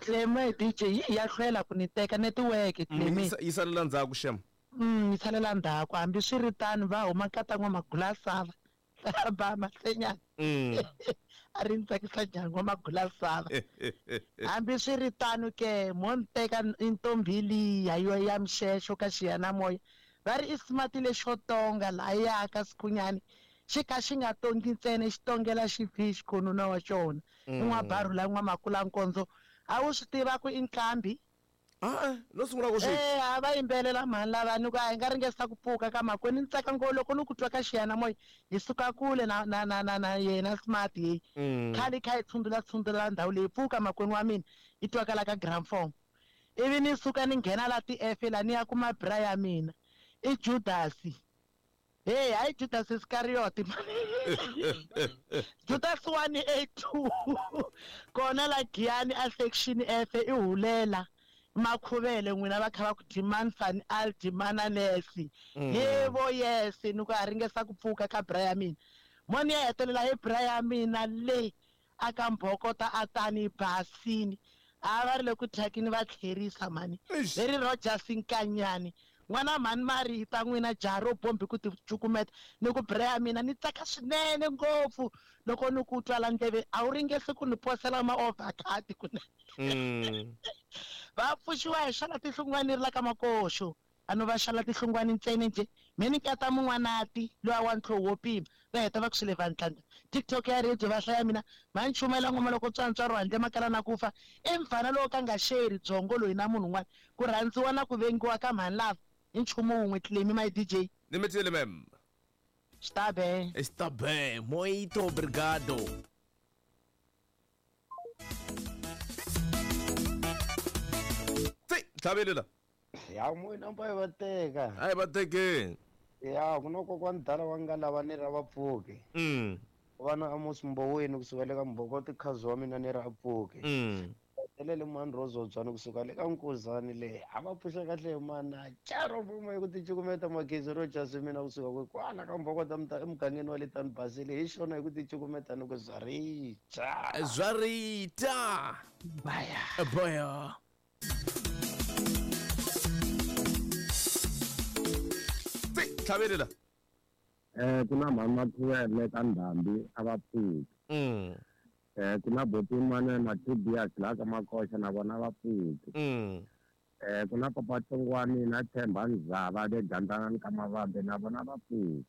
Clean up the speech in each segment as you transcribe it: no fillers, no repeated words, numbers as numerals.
Cleme DJ yi ya hlwela ku ni teka netiweke Cleme. Yi salela ndzhaku xem. Yi salela ndzhaku hambi swi ri tano va huma nkata n'wamagula sava ba masenyana. A ri ni tsakisa njhani n'wamagula sava. Hambi swi ri tano ke mo ni teka ntombi liya yo ya mixexo ka xiyanimoya va ri i smart lexo tonga lahaya ka Sikhunyani xi kha xi nga tongi ntsena xi tongela xi xikhonuna wa xona. I n'wabarhu la n'wamakulankondzo a wu swi tiva ku i nqambi? A-e, no sungula ku swi. Eh, a va yimbelela mhani lava ni ku a hi nga ringesa ku pfuka ka makwenu ni tsaka ngopfu loko ni ku twa ka xiyanimoya hi suka kule na na na na na yena smart heyi. Khale hi kha hi tshundula tshundula ndhawu leyi pfuka makwenu wa mina yi twakala ka gramphone. Ivi ni suka ni nghena la ti-F la ni ya kuma bra ya mina i Judasi. Hey, hayi Judas Iscariot. Judas 182. Kona la Giyani a section F i hulela makhuvele n'wina va kha va ku demand fan al demanda nesi. Yebo yes ni ku a ringesa ku pfuka ka bra ya mina. Mo ni ya hetelela hi bra ya mina le a ka mbhokota a tani basini. A va ri le ku thyakini va tlherisa mhani. Leri Rogers Nkanyani. N'wana mhani Marita n'wina jaha ro bombi ku ti cukumeta ni ku bra ya mina ni tsaka swinene ngopfu loko ni ku twa la ndleveni a wu ringesi ku ni posela ma overcut kunene. Va pfuxiwa hi xala tihlungwani ri la ka makoxo. A no va xala tihlungwani ntsena nje me ni nkata mun'wanati luya wa ntlhoho wo pima va heta va ku swi le vantlanda. TikTok ya radio va hlaya mina va ni chumayela ngoma loko tswantswa ro handle makala na ku fa i mfana lowo ka nga sheri byongo loyi na munhu un'wana ku rhandziwa na ku vengiwa ka mhani lava i nchumu wun'we Clemy my DJ. Ni mitile ma'am. Está bem. Está bem. Muito obrigado. Tsi, tlhavele la. Ya moya mpa yi va teka. A yi va tekeni. Ya ku na kokwani dala wa nga lava ni ra va pfuke. Va na Amos Mboweni kusuka le ka Mbhokoti khazi wa mina ni ra pfuke. Hetelele mani Rozodzwani kusuka le ka Nkuzani le. A va pfuxa kahle mana. Charo vuma hi ku ti cukumeta Magezi ro Jasi mina kusuka kwe kwala ka Mbhokota emugangeni wa le Tani Basile hi xona hi ku ti cukumeta ni ku zwarita. Zwarita. Baya. Baya. Tsi, tlhavele la. Ku na mhani Makhuwele ka Ndhambi a va pfuki. Ku na boti yin'wana Matobias laha ka Makoxa na vona va pfuki. Ku na papa Tsongwani na Themba Ndzava le Gandlangani ka Mavambe na vona va pfuki.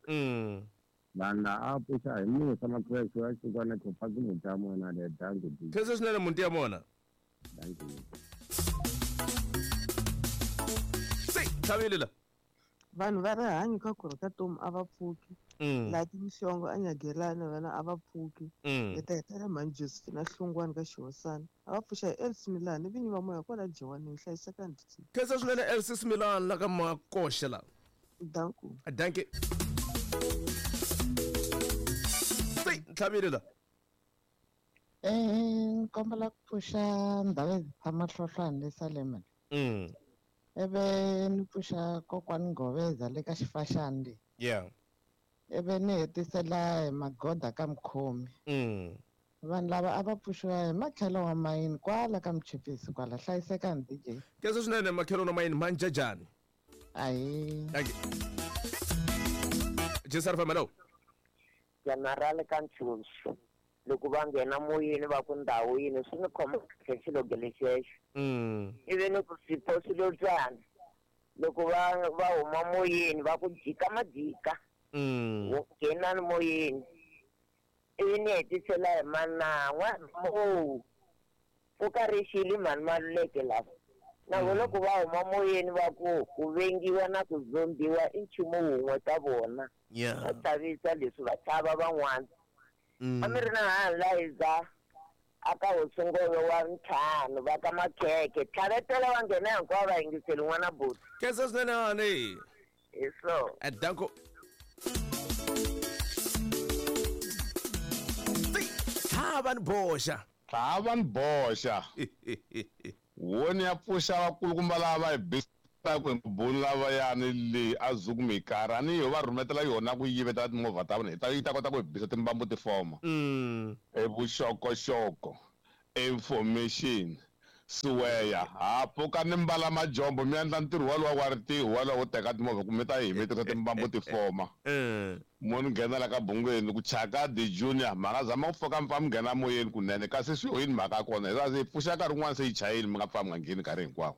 Vanhu lava a va pfuxa hi musa Makhuwele xi va xikwana khopaki muti ya mona le danki. Khensa swinene muti ya mona. Danki. Tsi, tlhavele la. Vanhu va rihanyo ka ku ka tomu a va pfuki. Laha timhlongo a nyagelana vana a va pfuki. Hi ta hetelela mhani Josephine Hlungwani ka Xihosana. A va pfuxa hi Elsie Milani vinyi va moya kwala Jewaneng hlayisekani DJ. Khensa swinene Elsie Milani la ka Makoxe la. Danku. Danke. Tsi, tlhavile la. Nkombela ku pfuxa ndhawu ya tshama hlohlwana le Salem. Eve ni pfuxa kokwani Ngoveza le ka xifaxani le. Eve ni hetisela hi magoda ka mukhomi. Vanhu lava a va pfuxiwa hi makhelo wa mayini kwala ka Mchipisi kwala hlayisekani DJ. Khensa swinene makhelo wa mayini manjajani. Ahi. Thank you. Jesar Famelo. General ka Ntshuxu. Loko va nghena moyeni va ku ndhawu yini swi ni khoma kahle xiloge lexexo. Ivi ni ku swipo swilotswana. Loko va huma moyeni va ku jika majika. Wo nghena ni moyeni. Ivi ni hetisela hi manan'wa mo. Pfuka ri xile mhani Maluleke lava. Na vona loko va huma moyeni va ku ku vengiwa na ku zombiwa i nchumu wun'we ka vona. Va chavisa leswi va chava van'wana. A mi ri na hanhi la hiza a ka hosingolo wa ntlhanu va ka makhekhe. Tlhavetela va nghena hinkwavo va yingiseli n'wana buti. Khensa swinene hani. Hi so. Danko. Tlhava ni boxa. Tlhava ni boxa. Woni ya pfuxa vakulukumba lava va hi bisa ku hi mabunu lavayani leyi a zuku mikara ni yo va rhumetela yona ku yivetela timovha ta vona hi ta yi ta kota ku hi bisa timbambu ti foma. E vuxokoxoko, information. Siweya ha pfuka ni mbala majombo mi endla ntirho walowa wa ritiho walowa wo teka timovha kumbe ta hi mi tirhisa timbambu ti foma. Mo ni nghena la ka bungweni ku chaka the junior mhaka zama ku pfuka mi pfa mi nghena moyeni kunene kasi swi yini mhaka ya kona hi se pfuxa nkarhi wun'wana se yi chayile mi nga pfa mi nga ngheni nkarhi hinkwawo.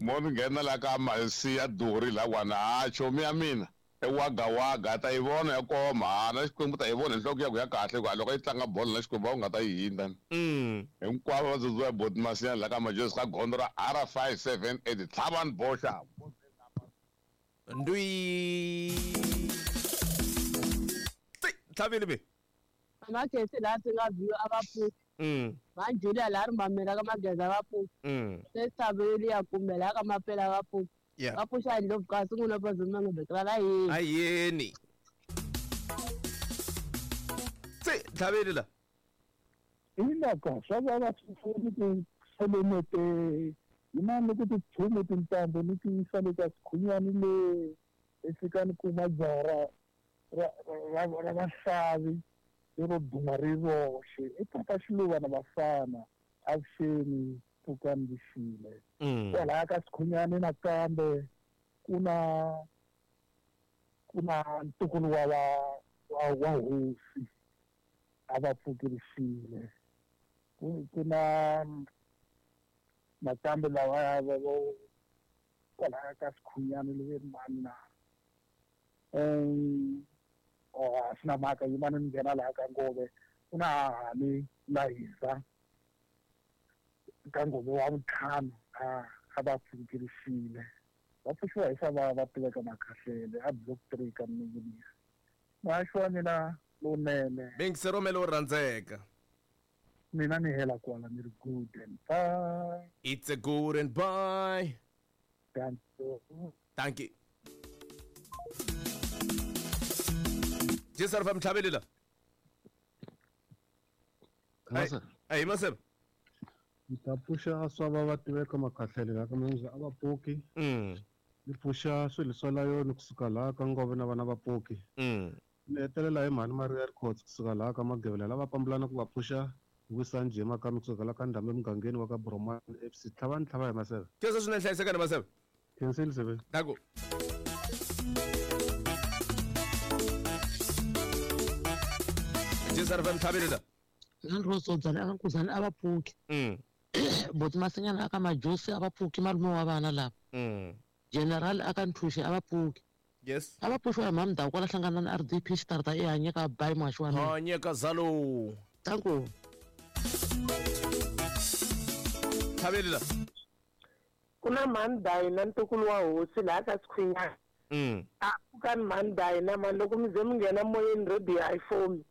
Mo ni nghena la ka masi ya duri lawani ha chomi ya mina e waga waga ta yi vona ya koma ha na Xikwembu ta yi vona hi nhloko ya ku ya kahle ku loko yi tlanga bolo na Xikwembu a wu nga ta yi hindza. Hinkwavo va dzudziwa hi boti Masiya la ka Majozi ka gondzo ra R578 tlhavani boxa. Ndwi. Tlhavile be. Makesi laha swi nga biwa a va pfuki. Manjula laha ri mamela ka mageza va pfuki. Se tshaveli ya kumbe laha ka mapela va pfuki. Va pfuxa ndlopfu kasi n'wina va zuma nga la yini. Ayeni. Se tlhavile la. Ina ka swa va swi ti solemete yinani loko ti chume tintambu ni ti yisa le ka sikhunyani le i fika ni kuma jara ra vaxavi lero duma ri roxe i papa Xiluva na vafana avuxeni pfukani lixile. Kwalaya ka sikhunyani nakambe ku na ntukulu wa hosi a va pfukerisile. Ku na nakambe lava va kwalaya ka sikhunyani le mani na a swi na mhaka yimani ni nghena laha ka Ngove ku na hahani la hisa ka Ngove wa vuntlhanu a va pfukerisile. Va pfuxiwa hi swa va tiveka Makhahlele a block 3 ka Mninginisi. Muhaxi wa mina lowunene. Bengise romelo wo rhandzeka. Mina ni hela kwala ni ri good and bye. It's a good and bye. Thank you. Thank you. Jisar fam tlhavele la. Ai masebe. Ni ta pfuxa swa va tiveka Makhahlele la ka Mninginisi a va pfuki. Ni pfuxa swilo swa layoni kusuka laha ka Ngove na vana va pfuki. Ni hetelela hi mhani Maria Records kusuka laha ka Magevela lava pambulana ku va pfuxa Vusanji Makami kusuka laha ka Ndhambe mugangeni wa ka Bromani FC. Tlhavani tlhava hi maseve. Khensa swinene hlayisekani maseve. Khensile seve. Danko. Jisar fam tlhavele la. Nandrosodzana aka Nkuzana a va pfuki. Boti Masinyana aka Majosi a va pfuki malume wa vana lava. General aka Nthuxe a va pfuki. Yes. A va pfuxiwa hi mhani Ndhawu kwala hlangana na RDP xitarata e hanyeka bayi muhaxi wa mina. Hanyeka zalo. Danko. Tlhavele la. Ku na mhani Dayi na ntukulu wa hosi laha ka Sikhunyana. A pfukani mhani Dayi na mhani loko mi ze mi nghena moyeni radio a yi fomi.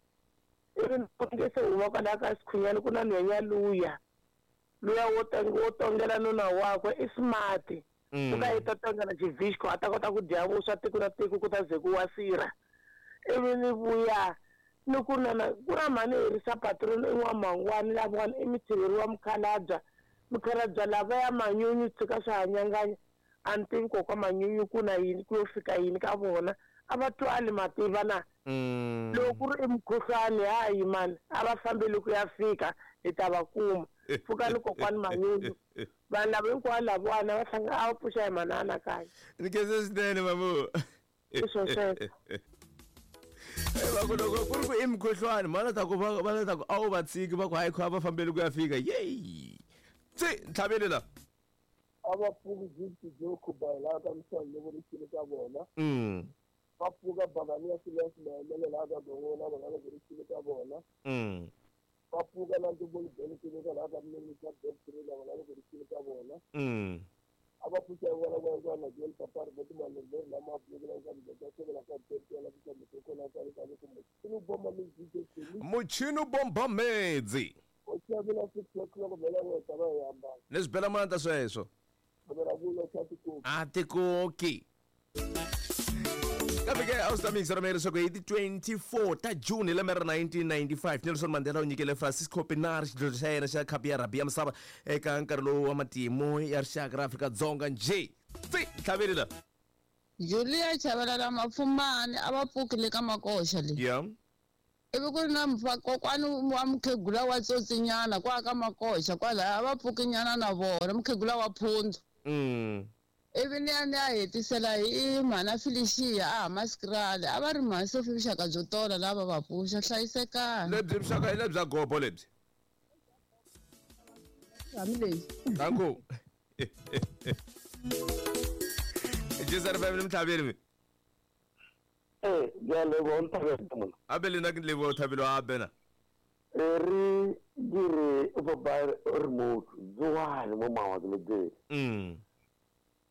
Ivi ni se huma kwalaha ka Sikhunyana ku na nhwenya luya. Luya wo tongela nuna wakwe i smart. Ku ka yi ta tongela xivhixko a ta kota ku dya vuswa tiko na tiko ku ta ze ku wasira. Ivi ni vuya ni ku na ku na mhani herisa patron i n'wamangwani lavawani i mutirheri wa mukhalabya. Mukhalabya lava ya manyunyu tshika swi hanyanganya a ni tivi kokwa manyunyu ku na yini ku yo fika yini ka vona a va twali mativa na. Loko ku ri i mukhuhlwani hayi mani a va fambeli ku ya fika hi ta va kuma. Pfukani kokwani manyunyu vanhu lava hinkwavo lavawani va hlanga a va pfuxa hi manana kaya. Ni khensa swinene mamu. I swo sweswo. Va ku loko ku ri ku i mukhuhlwani va ta ku va ta ku a wu va tshiki va ku hayi kha va fambeli ku ya fika yeyi. Se tlhavele la. A va pfuki Gift Joku ba laha ka Msani loko ri xile ka vona. Va pfuka Bakani ya Silas Maemele laha ka Gongona vona loko ri xile ka vona. Va pfuka na Ntumbulu Bele Tiveka laha ka Mninginisi ka Block 3 na vona loko ri xile ka vona. A va pfuxa vona va na Joel Papari va timali leri lama pfuka la ka Mdeka Sevela ka Tete la ka Mdeka la ka ka Muchini bomba medzi. Muchini bomba medzi. O xavela 6 o'clock vela va ta va hambana. Leswi bela manta sweswo. A tikoki. Kambe ke a wu ta mixera mi leswaku hi ti 24 ta June hi lembe ra 1995 Nelson Mandela u nyikele Francisco Pienaar xidlodlo xa yena xa khapu ya rugby ya misava eka nkarhi lowu wa matimu ya rixaka ra Afrika-Dzonga njhe. Tsi tlhavele la. Julia Chavalala Mafumani a va pfuki le ka Makoxa le. Yeah. Ivi ku ri na kokwani wa mukhegula wa tsotsinyana kwa ka makoxa kwalaya a va pfukinyana na vona mukhegula wa phundzu. Ivi ni ya ni ya hetisela hi mhana Felicia a Hammanskraal a va ri mhani Sophie vuxaka byo tola lava va pfuxa hlayisekani. Lebyi vuxaka hi lebya gobo lebyi. Hambi leyi. Danko. Jisar family mtlhaveri mi. Eh, ke a leboha Nthabelo mona. Abe le nna ke leboha Thabelo a bena. E re dire papa remote tsoane mo mawa ke le tsele.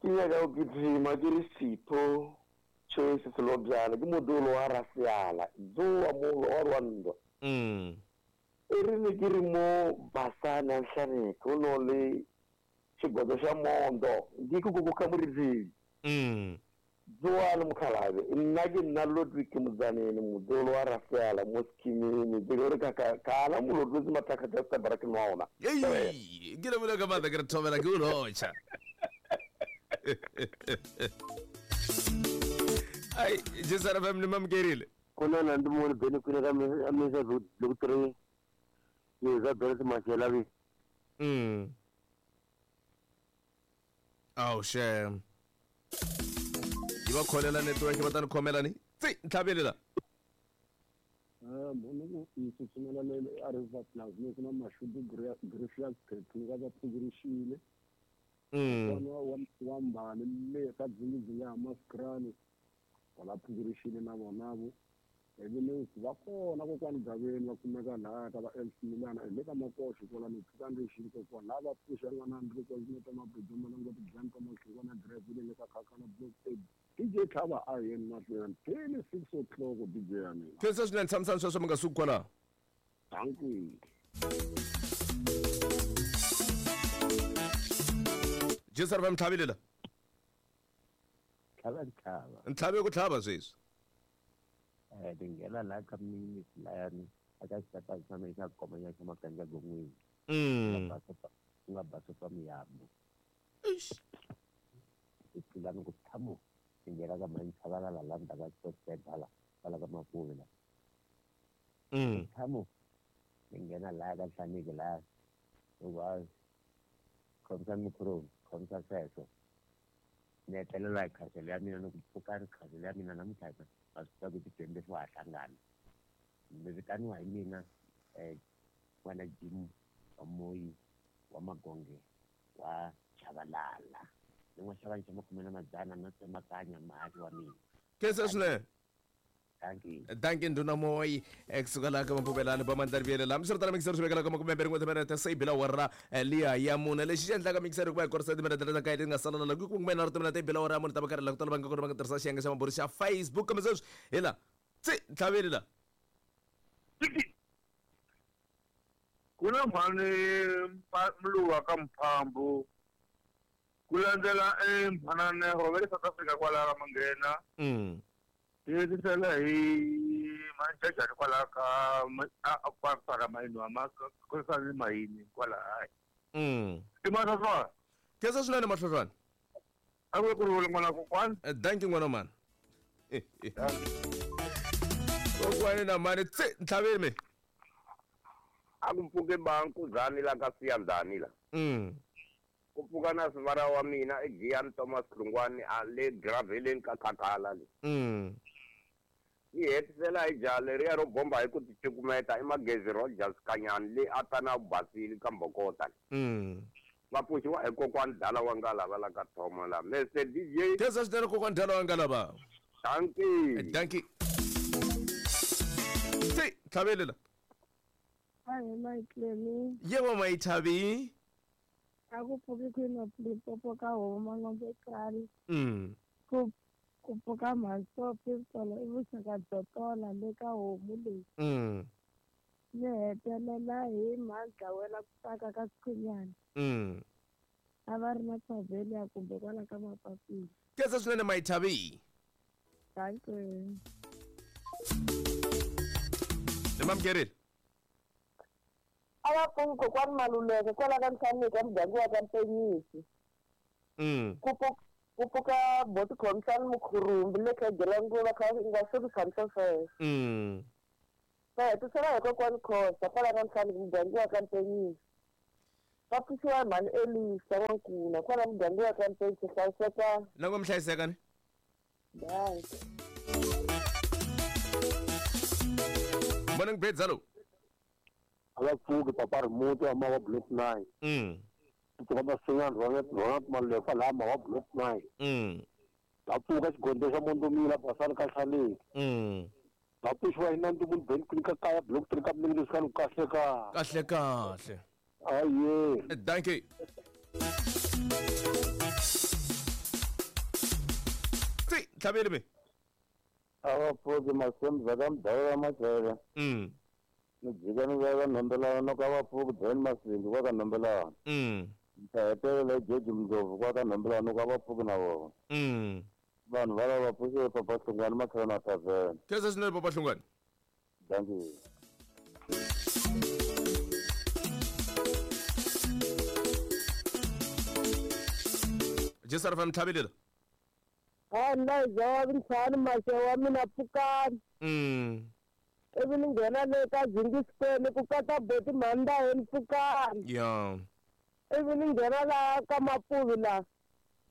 Ke nyaka go kitima ke re Sipho Choice Selobjana ke modolo wa Raseala tsoa molo wa rwa ntwa. E re ne ke re mo Basana Nhlaneke o no le xigodzo xa mondo ndi ku ku ka muriveli. Tsoane mokgalabe nna ke nna Ludwig Motsaneni modolo wa Raseala mo schemeni ke re ka ka kana molotlosi mathakga tsa Sabra ke nwa ona. Ei, ke lebole ka matla ke re thobela ke o lotšha. Ai, Jesara FM le mamukerile. Kuna na ndi mone bene kwine ka mesa le ku 3. Ni za bele mashela bi. Oh shame. Yi va kholela network va ta ni khomela ni tsi ntlhavelela. Munhu ku tsutsumela le a River Plus ni ku na mashudu Griffiths Pethu va va pfugurixile. Wa mbali le ka dzingidzingi ya Hammanskraal va la pfugurixile na vona vo. Ivi ni va kona kokwani Gaveni va kumeka lahaya ka va MC Milana le ka Makoxi kwalano pfuka ndzi xile kokwana lava va pfuxa n'wana ndzi ri kwale ta Mabido Malango Tidyani ta Mahlungwana Drive le ka Khakhala Block A. DJ Tlhava a yeni mahlweni till 6 o'clock DJ ya mina. Khensa swinene tshamisani sweswo mi nga suki kwalaho. Thank you. Jesar va mtlhavile la. Tlhava ntlhava. Ntlhave ku tlhava sweswi. Tingena la ka mini layani aka xitata xa mina xa komanya xa makanja gon'wini. Ku nga basopa miyambo. Eish. Tlula ni ku tshamo tingena ka mantshavalala la ndzhaku ka Sports hala kwala ka Mapuve la. Tshamo tingena laya ka Nhlaniki laya loko a khomisa micro khomisa sweswo ni hetelela hi khaselo ya mina ni ku pfuka ri khaselo ya mina namuntlha a swi tiva ku ti-24 ha hlangana mi vitaniwa hi mina n'wana Jim wa Moyi wa Magonge wa Chavalala ni n'wa xava xa makume na madzana na tsemakanya mali wa mina. Khensa swinene. Thank you. Thank you ndhuna Moyi kusuka laha ka Mapupelani va Mandlarivyele laha miswiritano mixer swi vekela ka makume mbirhi n'we timinete se yi bila awara liya ya mune lexi xi endlaka mixer ku va hi korisa timinete leti ka leti nga sala la ku kume na timinete yi bila awara ya mune ta va karhi la ku tala va nga kona va nga tirhisa xiyenge xa maburi xa Facebook kambe sweswi hi la tsi ntlhaveli la ku na mhani Mluwa ka Mphambu ku landzela mhananeho va le South Africa kwalaho ka Manghena. Hetisela hi manjajani kwalaho ka kwala mayini wa ma mayini kwalahaya. I mahlwahlwana. Khensa swinene mahlwahlwana. A ku ri vula n'wana kokwani. Thank you n'wana mani. Kokwani na mani tsi ntlhaveli mi. A ku pfuke bankuzani la ka Siyandhani la. Ku pfuka na sivara wa mina i Gian Thomas Hlungwani a le graveleni ka Khakhala le. Yi hetisela hi jaha leriya ro bomba hi ku ticukumeta i Magezi Rogers Kanyani le a ta na basile ka Mbokota le. Va pfuxiwa hi kokwani Dala wa Ngalava la ka Thoma la. Mr DJ. Khensa swinene kokwani Dala wa Ngalava. Thank you. Thank you. Tsi ntlhaveli la. Hi Maitlemi. Yebo Maithabi. A ku pfuki Queen of Limpopo ka homu Mangombe Krali. Ku pfuka Mhasopi Tsolo i vuxaka byo tola le ka homu leyi. Ni hetelela hi mhadlawela ku tsaka ka Sikhunyana. A va ri na Tsavelia kumbe kwala ka Mapapila. Khensa swinene Maithabi. Thank you. Ni mamukerile. A va pfuki kokwani Maluleke kwala ka Nhlaniki emuganga wa ka Mpenyisi. Ku pfuka boti Khomisani Mukhurumbi le Khegelanguva kha nga swi ku tshamisa sweswo. Va hetisela hi kokwani Khosa kwala ka Ntlhanu muganga wa ka Mpenyisi. Va pfuxiwa hi mhani Elisa N'wankuna kwala muganga wa ka Mpenyisi hlayiseka. Loko mi hlayiseka ni? Bye. Morning Beds, hello. A va pfuki papa Rimuti wa Mawa Block 9. Pfuka Masinyana Ronald Malefa laha Mawa Block 9. Va pfuka xigondzo xa Mondomila Basani ka Hlaleni. Va pfuxiwa hi Nandu Ben Queen ka kaya Block 3 ka Mningi leswi kahle ka. Kahle kahle. Aye. Thank you. Si, tlhaveli me. A va pfuki Masemza ka Mdawula Machele. Ni jika ni veka Nhombelana no ka va pfuki John Masimbi kwa ka Nhombelana. Ta hetelela George Mndlovu kwa ka Nhombelana no ka va pfuki na vona. Vanhu va lava pfuxiwe Papa Hlungwani Makhelwana Tavern. Khensa swinene Papa Hlungwani. Thank you. Jesi RFM tlhavelela. Ha nna wa ntlhanu maxe wa mina pfukani. Ivi ni nghena le ka Zingisipeni ku katsa boti mhani pfukani. Yeah. Ivi ni nghena laha ka Mapuvi laha.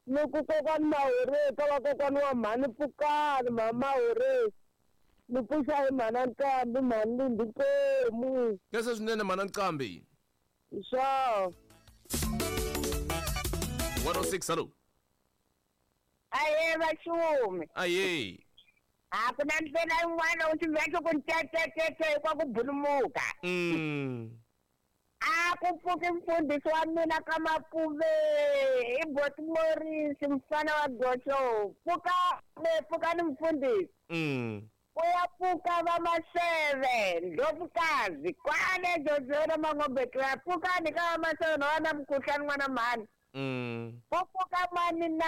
Ni ku kokwani Mahoreki ka vakokwani wa mhani pfukani mhani Mahoreki. Ni pfuxa hi mhana Nqambi mhani Lindi Nkomu. Khensa swinene mhana Nqambi. Sure. 106 hello. Aye vaxumi. Aye. A ku na ndlela yin'wana u swi veke ku ntetetete kwa ku bulumuka. A ku pfuki mfundhisi wa mina ka Mapuve i Boti Morris mfana wa Goxo. Pfuka pfukani mfundhisi. Ku ya pfuka va Maseve Ndlovukazi kwale Jojo Mangobekela pfukani ka va Maseve na wana mukhuhlani n'wana mhani. Ku pfuka mani na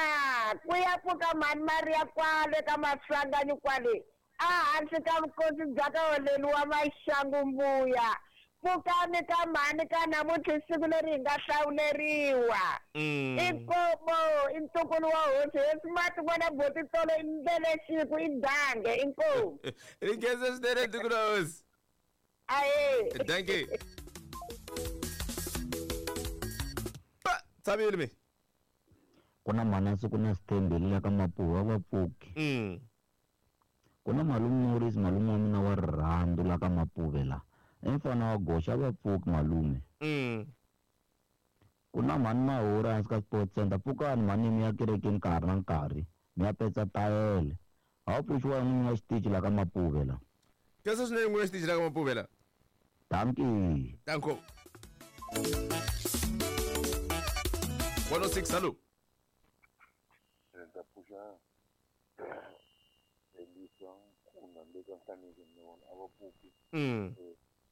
ku ya pfuka mhani Maria kwale ka Maswanganyi kwale a hansi ka vukosi bya ka holeni wa Maxangu mbuya. Pfukani ka mhani ka namuntlha siku leri hi nga hlawuleriwa. I nkomo i ntukulu wa hosi hosi mati n'wana boti tolo i ndlele siku i dange i nkomo. Ri khensa swinene ntukulu wa hosi. Aye. Thank you. Tsavile me. Ku na Manasi ku na Sithembile la ka Mapuva va pfuki. Ku na malume Morris malume wa mina wa rirhandzu la ka Mapuve la. I mfana wa Goxa va pfuki malume. Ku na mhani Mahura hansi ka Sports Center pfukani mhani mi ya kerekeni ka ha ri na nkarhi mi ya petsa tayele. A wu pfuxiwa hi n'winyi wa xitichi la ka Mapuve la. Khensa swinene n'winyi wa xitichi la ka Mapuve la. Dankie. Danko. 106 hello. Ta pfuxa Elisa Nkuna le ka Nhlaneki ni vona a va pfuki.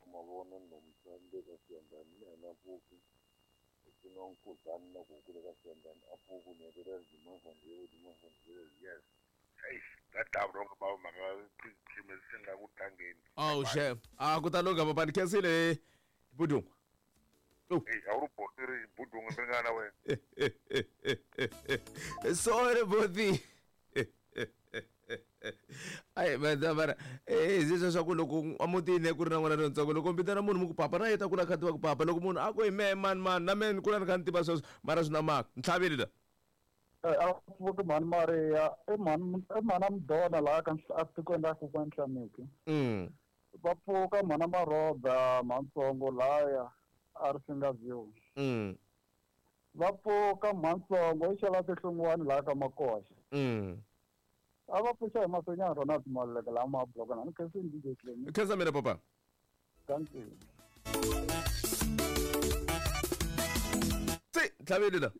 Mavona Nomsa le ka Siyandhani na yena a pfuki. Ku na Nkuzani na Gugu le ka Siyandhani a pfuki ni hetelela Dimavandiwe yes. Hey, that time wrong about mhaka se nga ku tlangeni. Oh chef. A ku ta lungha papa ni khensile Budungu. Hey, a wu ri boti ri Budungu ri nga na wena. Sorry boti. Ai madamara eh swa ku loko amutini ku ri na n'wana lontsongo loko mi vitana munhu mi ku papa na yeta ku la kha tiva ku papa loko munhu a ku hi mehe mani mani na mehe ni kula ni kha ni tiva sweswo mara swi na maka ntlhaveli la. A pfuki mhani Maria i mhani i mhana Mdona laha ka etikweni ra kokwani Nhlaneki. Va pfuka mhana Maroba mhantsongo laya a ri Singa View. Va pfuka mhantsongo i xava tihlungwani laha ka Makoxa. A va pfuxa hi Masenyana Ronald Maluleke laha Mabloko na ni khensini DJ Clem. Khensa mina papa. Thank you. Si tlhaveli la.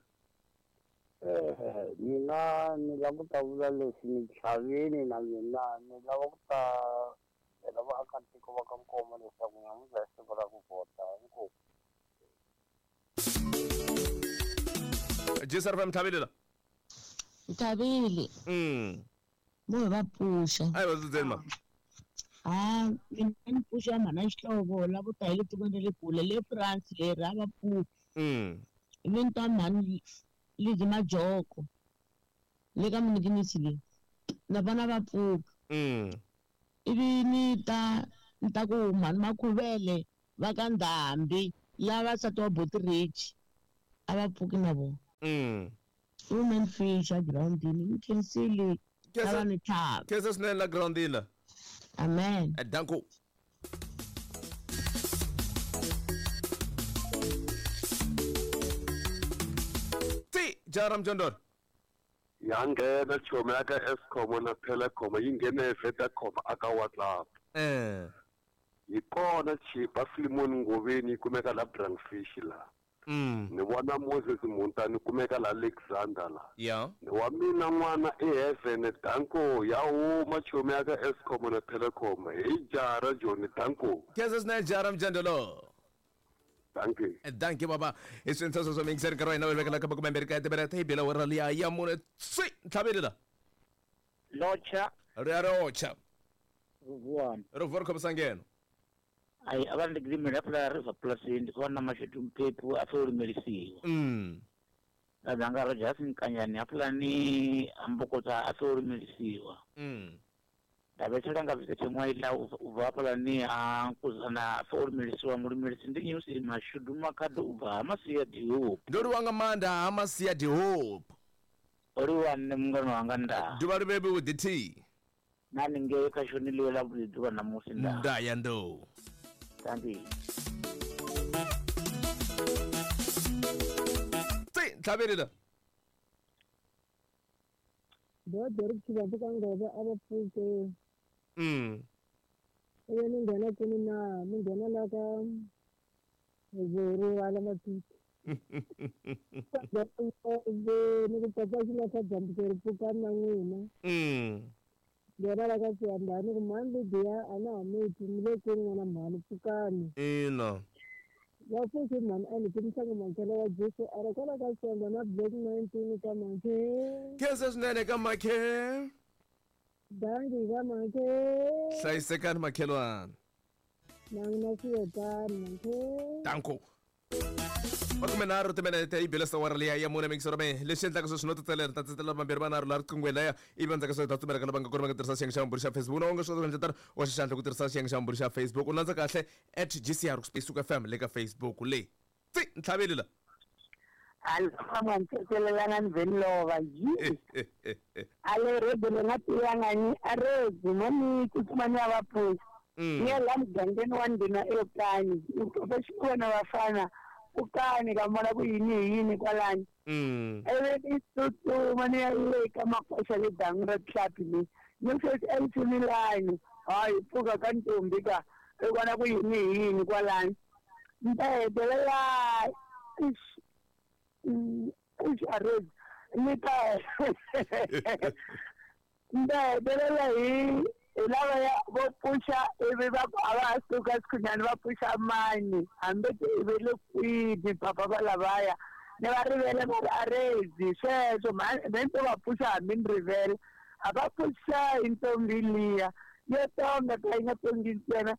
Mina ni lava ku ta vula leswi ni chaveni na mina ni lava ku ta byela vaakatiko va ka Nkomo leswaku namuntlha i siku ra ku vhota inkomu. Jesi RFM tlhaveli la. Tlhaveli. Mo hi va pfuxa. A hi va tsutseni ma. Ha mina ni pfuxa mhana Xihlovo lavo ta hi le tikweni ra le kule le France leri a va pfuki. Ivi ni ta mhani Lizzy Majoko le ka Minikinisi leyi na vana va pfuka. Ivi ni ta Ni ta ku mhani Makhuvele va ka Ndhambi lava nsati wa Boti Rich a va pfuki na vona. Women fish a girawundini ni khensile a va ni tlhava. Khensa swinene la girawundini la. Amen. Danko. Ti jara mjondoro. Ya nghena chomi ya ka Eskom na Telecom yi nghene hi Vodacom aka WhatsApp. Hi kona Chipa Filimoni Ngoveni yi kumeka la Brandfish la. Ni vona Moses Muntani kumeka la Alexander la. Ni wa mina n'wana i Heaven Danko ya huma chomi ya ka Eskom na Telecom hi jara Johnny Danko. Khensa swinene jara mjondoro. Thank you. Thank you baba. I swintsha sweswo mi yingiseri nkarhi wa hina wu vekela ka makume mbirhi ka timinete hi bela wera liya ya mune swi ntlhaveli la. Locha. Ri ya rocha. Ruvuwani. Ruvuwa ri khomisa ngeno. Ayi a va ni gimela phela River Plasini ku va na Mashudu Mphephu a fo lumelisiwa. Na dzanga ro Justin Kanyani hafulani ambokota a fo lumelisiwa. Ndavhetshela nga vhidza tshiṅwe u bva hafhalani ha Nkuzana a fo lumelisiwa mulumelisi ndi News Mashudu Makhado u bva ha Masia Dihope. Ndo livhuwa nga maanḓa ha Masia Dihope. O livhuwa nṋe mungana wanga nda. Ḓuvha ḽi vhe vhuḓi thi. Na ningei kha shoni ḽiwe ḽa vhuḓi ḓuvha ṋamusi nda. Nda ya ndo. Thank you. Tsi ntlhaveli la. Ndo ri tshi vha pfuka ngova a vha pfuke. Iwe ni nghena kwini na mi nghena la ka Zoro ala matiti. Ni ku papa xi la ka dyambu ri pfuka na n'wina. Nghena la ka Siyandhani ku mhani Lidiya a na ha mi twi mi le kwini n'wana mhani pfukani. Ina. Va pfuki mhani a ni timisanga makhelo wa Jesu a ri kwala ka Siyandhani na Black 19 ka Makhe. Khensa swinene ka Makhe. Dangi ka Makhe. Hlayisekani makhelwani. Na n'wina swiyetani Makhe. Danko. 13 timinete yi bile sawara liya ya mune mingisoro me leswi endlaka sweswi no titselela ta tsetselela vambirhi vanharhu laha riqinghweni laya ivi endzhaku ka sweswo ta tsumelaka lava nga kona va nga tirhisa xiyenge xa vumbirhi xa Facebook na u nga swi kota ku endla tano wa xixandla ku tirhisa xiyenge xa vumbirhi xa Facebook u landza kahle at GCR Suka FM le ka Facebook leyi tsi ntlhaveli la. Alifamwantetselelana ni lova yi ale rebe nga tiyangani arebe mani tsutsumani ya vapfuki ni ya la mugangeni wa ndhuna eKani va vafana ukani ka mona ku yini hi yini kwalani ivi ni tsutsuma ni ya le ka makoxa le dangu ra tlhapi le ni sweswi elithumilani hayi pfuka ka ntombi ka i vona ku yini hi yini kwalani ni ta hetelela arezi ni ta ni ta hetelela hi lavaya vo pfuxa ivi va ku a va ha suka sikhunyani va pfuxa mani hambi ivi le kwini papa va lavaya ni va rivele va ri arezi sweswo me ni to va pfuxa hambi ni rivele a va pfuxa hi ntombi liya yo tonga ka yi nga tongi ntsena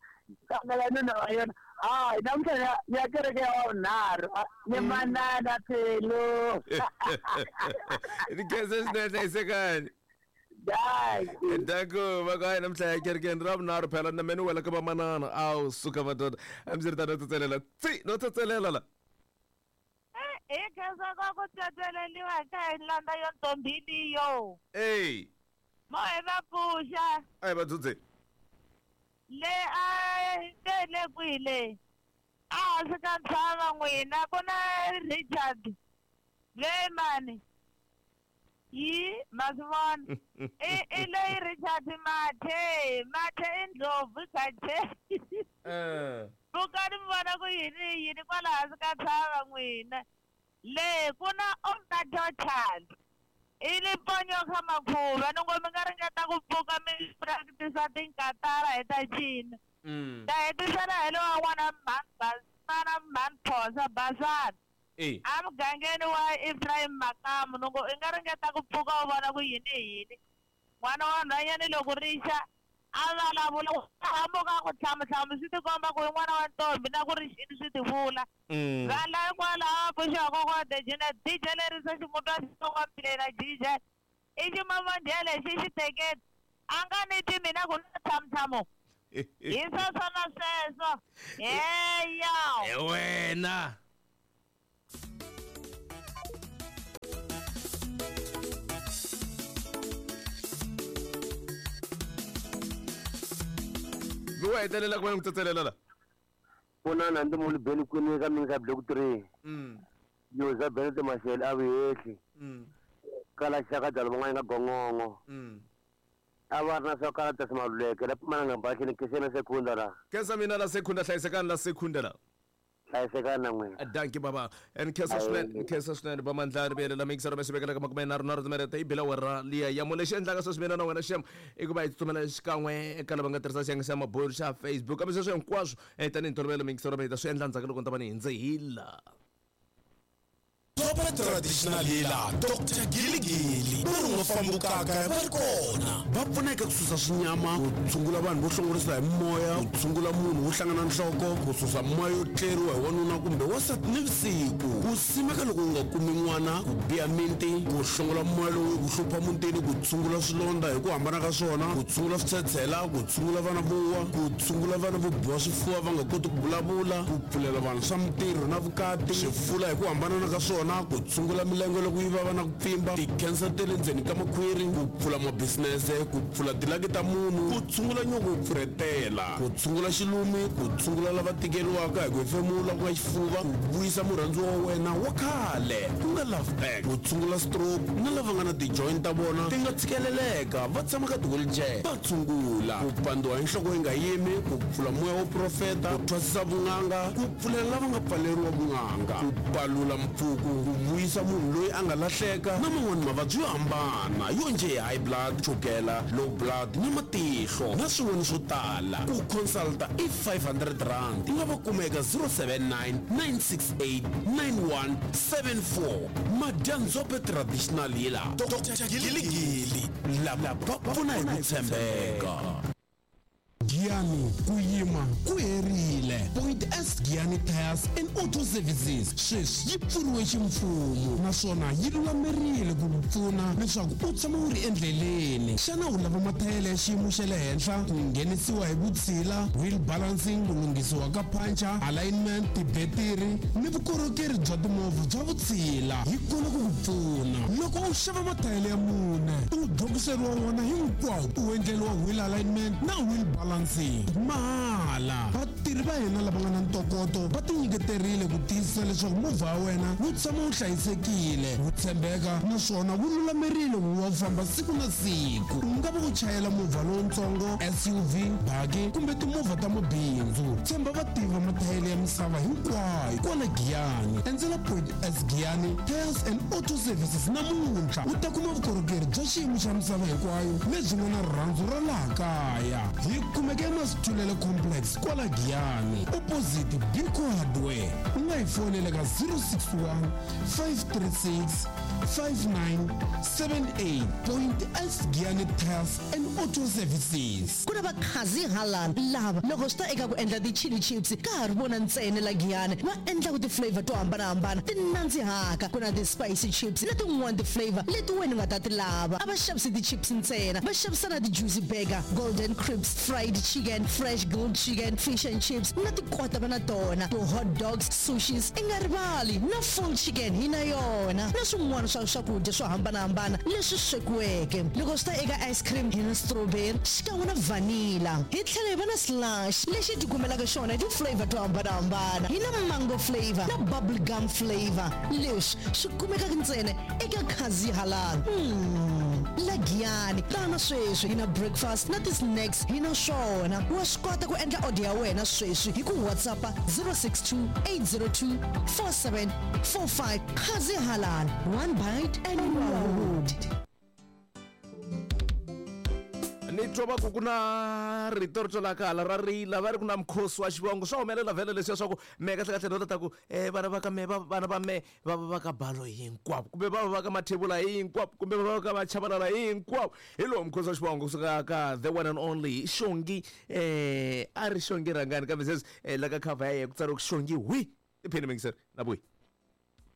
kangela nuna wa yona hayi namuntlha ni ya kereke ya wavunharhu ni manana phelo. Ni khensa swinene hlayisekani. Danko va ku hayi namuntlha ya kerekeni ra vunharhu phela na me ni wela ka vamanana awu suka madoda hambiswiritano no tsetselela tsi no tsetselela la. Hi khensa ka ku tsetseleliwa ka hi landza yo ntombi liyo. Ey. Mo hi va pfuxa. A hi va dzudze. Le a le le kwihi le a hansi ka ntshava n'wina ku na Richard le mani yi ma swi vona i leyi Richard Mathe Mathe i ndlopfu Gathe. Pfukani mi vona ku yini yini kwala hansi ka ntshava n'wina le ku na Omnatotal i liponyo kha makhuva ni ngo mi nga ringeta ku pfuka mi practice tinkatara hi ta cina. Ta hetisela hi lowa n'wana mhani mhani Phosa Basana a mugangeni wa Ephraim Makamu ni ngo i nga ringeta ku pfuka u vona ku yini yini n'wana wa nhwanyana loko ri xa a vulavula hamuka ku hlamuhlamu swi tikomba ku i n'wana wa ntombi na ku ri xini swi ti vula. Vanhu hikwalaho va pfuxiwa kokwa Dejena DJ lerisa ximuntwa xitsongwampile na DJ i ximamondhele xi xi teketi a nga ni twi mina ku na hlamuhlamu. Hi sweswo na sweswo. Heya. Hi wena. Mi wa hetelela ku va ni ku tsetselela la. Pfunana ndi munhu beni kwini ka mina ka block 3. Yo za bele te mashele a vuhehli. Kala xaka dalo van'wana ka gongongo. A va ri na swa kala ta simaluleke la pfumala nga bahleni kesena sekunda la. Khensa mina la sekunda hlayisekani la sekunda la. Hlayisekani na n'wina. Dankie baba. And khensa swinene, khensa swinene ba mandla ri vuyelela mixer va xivekela ka 33 timinete yi bela wera liya ya lexi endlaka sweswi mina na wena xem i ku va hi tsutsumela xikan'we eka lava nga tirhisa xiyenge xa mabulu xa Facebook kambe sweswo hinkwaswo tanihi ntolovelo mixer va hi ta swi endla ndzhaku loko ni ta va ni hindze hi la. Doroba ra Traditional Healer Doctor Giligili va ri nga fambukaka va ri kona va pfuna eka ku susa swinyama ku tshungula vanhu vo hlongorisa hi moya ku tshungula munhu wo hlangana nhloko ku susa moya yo tleriwa hi wanuna kumbe wansati nivusiku ku simeka loko u nga kumi n'wana ku biha miti ku hlongola moya lowu ku hlupha mutini ku tshungula swilondza hi ku hambana ka swona ku tshungula switshetshela ku tshungula vana vo wa ku tshungula vana vo biwa swifuva va nga koti ku vulavula ku pfulela vanhu swa mintirho na vukati swifula hi ku hambanana ka swona ku tshungula milenge loko yi vava na ku pfimba tikhensa ta le ndzeni ka makhwiri ku pfula mabisinese ku pfula tilaki ta munhu ku tshungula nyoko yo pfurhetela ku tshungula xilumi ku tshungula lava tikeriwaka hi ku hefemula ku nga xifuva ku vuyisa murhandziwa wa wena wa khale ku nga love back ku tshungula stroke na lava nga na ti-joint ta vona ti nga tshikeleleka va tshama ka ti-wheelchair va tshungula ku pandziwa hi nhloko yi nga yimi ku pfula moya wo profeta ku thwasisa vun'anga ku pfulela lava nga pfaleriwa vun'anga ku palula mpfuku ku vuyisa munhu loyi a nga lahleka na man'wana mavabyi yo hambana yo njhe hi high blood chukela low blood na matihlo na swin'wana swo tala ku consulta i R500 u nga va kuma eka 079 968 9174 Madyandzhope Traditional Healer Doctor Giligili lava va pfuna hi ku tshembeka. Giyani, ku yima ku herile. Point S Giyani Tyres and Auto Services sweswi yi pfuriwe ximfumo naswona yi lulamerile ku ku pfuna leswaku u tshama u ri endleleni. Xana u lava mathayele ya xiyimo xa le henhla, ku nghenisiwa hi vutshila, wheel balancing, ku lunghisiwa ka puncher, alignment, tibetiri ni vukorhokeri bya timovha bya vutshila? Hi kona ku ku pfuna. Loko u xava mathayele ya mune, u dlokiseriwa wona hinkwawo, u endleriwa wheel alignment na wheel balancing mahala. Vatirhi va hina lava nga na ntokoto va tinyiketerile ku tiyisisa leswaku movha wa wena wu tshama wu hlayisekile, wu tshembeka naswona wu lulamerile ku va wu famba siku na siku. U nga va u chayela movha lowutsongo, SUV, baki kumbe timovha ta mabindzu. Tshemba vativi va mathayele ya misava hinkwayo kwala Giyani. Endzela Point S Giyani Tyres and Auto Services namuntlha u ta kuma vukorhokeri bya xiyimo xa misava hinkwayo lebyi nga na rirhandzu ra laha kaya. Hi kumeka eMasithulele Complex kwala Giyani, opposite Biko Hardware. U nga hi fonela ka 061 536 5978. Point S Giyani Tyres and Auto Services. Ku na vakhazi halal lava loko swi ta eka ku endla ti-chili chips ka ha ri vona ntsena la Giyani va endlaka ti-flavor to hambanahambana ti nandzihaka. Ku na ti-spicy chips na tin'wana ti-flavor leti wena u nga ta ti lava. A va xavisi ti-chips ntsena, va xavisa na ti-juicy burger, golden crisps, fried chicken, fresh grilled chicken, fish and chips na tikota va na tona, ti-hot dogs, sushis, i nga rivali na full chicken hi na yona na swin'wana swa swakudya swo hambanahambana leswi swekiweke. Loko swi ta eka ice cream hi na strawberry xikan'we na vanilla. Hi tlhela hi va na slush lexi hi tikumelaka xona hi ti-flavor to hambanahambana. Hi na mango flavor na bubble gum flavor. Leswi swi kumekaka ntsena eka Khazi Halal. La Giyani tana sweswi hi na breakfast na ti-snacks hi na swona. Wa swi kota ku endla order ya wena sweswi hi ku WhatsApp 062 802 4745. Khazi Halal, one bite and you are hooked. Ni twa va ku ku na rito ri twalaka hala ra rila va ri ku na mukhosi wa xivongo swa humelela vhele leswiya swa ku mehe kahlekahle no ta ku vana va ka mehe vana va mehe va va va ka balo hinkwavo kumbe va va va ka mathebula hinkwavo kumbe va va ka machavalala hinkwavo. Hi lowu mukhosi wa xivongo kusuka ka the one and only Xongi, a ri Xongi rhangani kambe sweswi la ka cover ya yena ku tsariwe ku Xongi hwi tiphini mingiseri na vuyi.